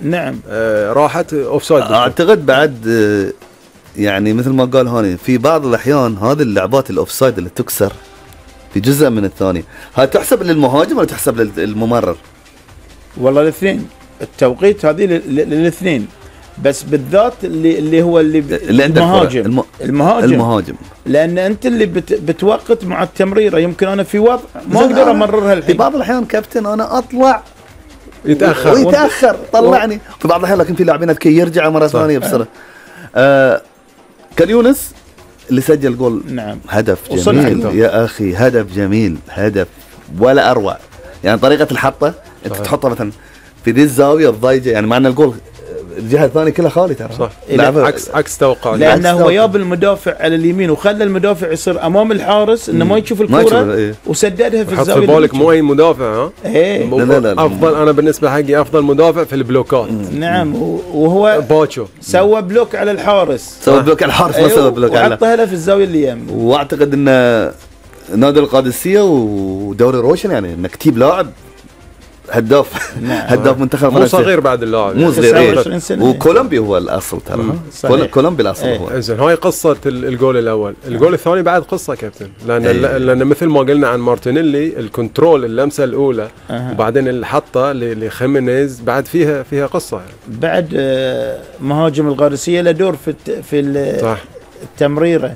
نعم. راحت اوفسايد. اعتقد بعد يعني مثل ما قال هاني في بعض الاحيان هذه اللعبات الاوفسايد اللي تكسر في جزء من الثاني، هاي تحسب للمهاجم ولا تحسب للممرر؟ والله الاثنين، التوقيت هذه للاثنين، بس بالذات اللي هو اللي المهاجم. المهاجم لان انت اللي بتوقت مع التمريره. يمكن انا في وضع ما اقدر امررها الحين. في بعض الاحيان كابتن انا اطلع يتاخر طلعني في بعض الاحيان، لكن في لاعبين اذكياء يرجع مره ثانيه بسرعه. كان يونس اللي سجل جول. نعم. هدف جميل يا اخي، هدف جميل، هدف ولا اروع. يعني طريقه الحطه انت تحطها مثلا في ذي الزاويه الضيقه، يعني مع ان الجول الجهه الثانيه كلها خالي ترى. صح. عكس توقع، لانه هو جاب المدافع على اليمين وخلى المدافع يصير امام الحارس انه ما يشوف الكره وسددها في الزاويه. حط في بالك مو اي مدافع. لا. افضل، انا بالنسبه حقي افضل مدافع في البلوكات. نعم. وهو باتشو سوى بلوك على الحارس، سوى بلوك على الحارس، ما سوى بلوك على، وحطها له في الزاويه اللي يم. واعتقد ان نادي القادسيه ودوري روشن يعني انك تجيب لاعب هداف. نعم. هداف منتخب مو صغير بعد اللاعب، مو صغير. وكولومبي هو الاصل ترى. كولومبي الاصل هو. زين، هاي قصه الجول الاول. الجول الثاني بعد قصه كابتن، لان مثل ما قلنا عن مارتينيلي الكنترول اللمسه الاولى وبعدين الحطه لخيمينيز بعد فيها قصه يعني. بعد مهاجم القادسيه له دور في التمريره.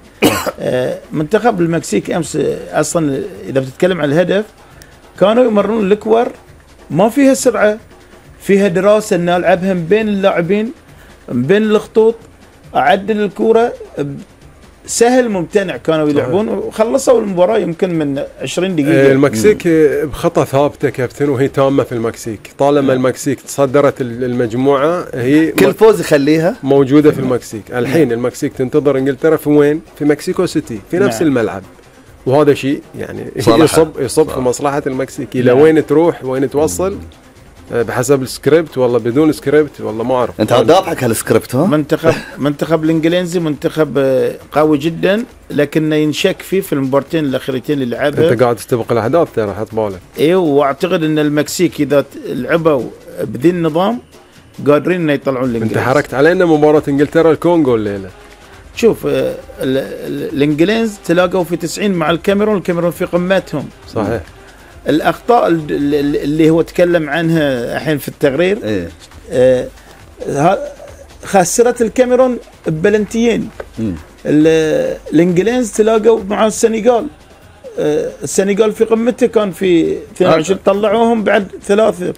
منتخب المكسيك امس اصلا اذا بتتكلم عن الهدف كانوا يمرون الكور ما فيها سرعه، فيها دراسه ان العبها بين اللاعبين بين الخطوط، اعدل الكوره سهل ممتنع. كانوا يلعبون وخلصوا المباراه يمكن من 20 دقيقه. المكسيك بخطه ثابته كابتن، وهي تامه في المكسيك. طالما المكسيك تصدرت المجموعه هي كل فوز يخليها موجوده في المكسيك. الحين المكسيك تنتظر انجلترا في وين؟ في مكسيكو سيتي، في نفس الملعب. وهذا شيء يعني يصب في مصلحة المكسيك. إلى وين تروح وين توصل بحسب السكريبت، والله بدون سكريبت والله ما أعرف. أنت ضابطك هالسكريبت. منتخب الإنجليزي منتخب قوي جدا، لكنه ينشك فيه في المباراتين الأخيرتين اللي لعبها. أنت قاعد تستبق الأهداف ترى، حط بالك. إيه، وأعتقد أن المكسيك إذا لعبوا بذي النظام قادرين إنه يطلعون الإنجليز. أنت حركت علينا مباراة إنجلترا الكونغو الليلة. شوف الانجليز تلاقوا في 90 مع الكاميرون في قمتهم. صحيح. الاخطاء اللي هو تكلم عنها الحين في التقرير خسرت الكاميرون ببلنتيين. الانجليز تلاقوا مع السنغال. السنغال في قمته كان في 22 طلعوهم بعد 3.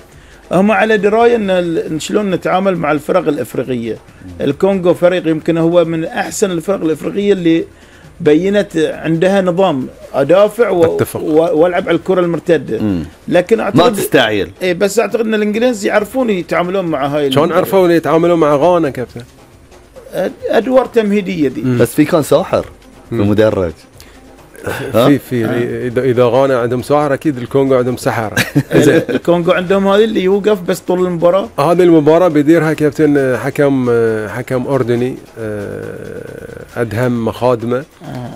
هم على درايه ان شلون نتعامل مع الفرق الافريقيه. الكونغو فريق يمكن هو من احسن الفرق الافريقيه اللي بينت عندها نظام ادافع والعب على الكره المرتده. لكن اعتقد ما تستعجل. بس اعتقد ان الانجليز يعرفون يتعاملون مع هاي. شلون عرفوا يتعاملون مع غانا كابتن؟ ادوار تمهيديه دي. بس في كان ساحر في مدرج. اذا غانا عندهم ساحر اكيد الكونغو عندهم سحره. الكونغو عندهم هذه اللي يوقف بس طول المباراه. هذه المباراه بيديرها كابتن حكم اردني ادهم مخادمه.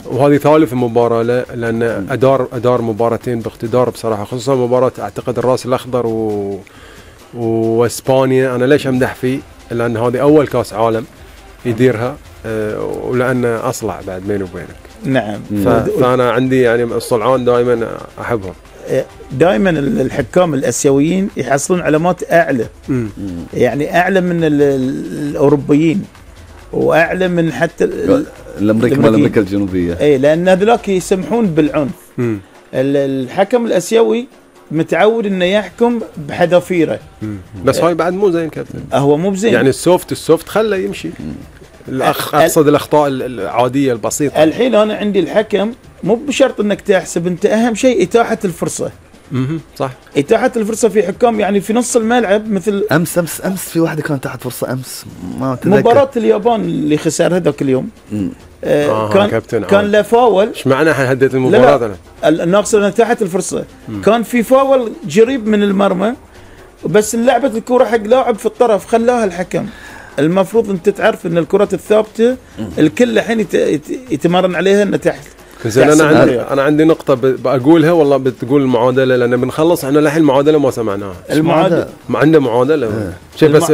وهذه ثالث مباراه لان ادار مباراتين باقتدار بصراحه، خصوصا مباراه اعتقد الراس الاخضر واسبانيا. انا ليش امدح فيه؟ لان هذه اول كاس عالم يديرها، ولان اصلع بعد بيني وبينك. نعم. فانا عندي يعني الصلعان دائما احبهم. دائما الحكام الاسيويين يحصلون علامات اعلى. يعني اعلى من الاوروبيين واعلى من حتى الامريكا الجنوبيه. اي، لان هذولاك يسمحون بالعنف. الحكم الاسيوي متعود انه يحكم بحذافيره. بس هاي بعد مو زين كابتن. هو مو بزين يعني السوفت خله يمشي. اقصد الاخطاء العاديه البسيطه. الحين انا عندي الحكم مو بشرط انك تحسب، انت اهم شيء اتاحه الفرصه. صح. اتاحه الفرصه في حكام يعني في نص الملعب مثل امس في واحده كانت تحت فرصه امس ما اتذكر. مباراه اليابان اللي خسر هذاك اليوم. كان له فاول. ايش معنى هديت المباراه؟ انا ناقص انها تحت الفرصه. كان في فاول قريب من المرمى، بس لعبت الكره حق لاعب في الطرف خلاها الحكم. المفروض انت تعرف ان الكرات الثابته الكل الحين يتمرن عليها انها تحت زين انا عندي نقطه بقولها والله بتقول المعادله، لان بنخلص احنا للحين المعادله ما سمعناها. المعادله ما عنده معادله. شوف بس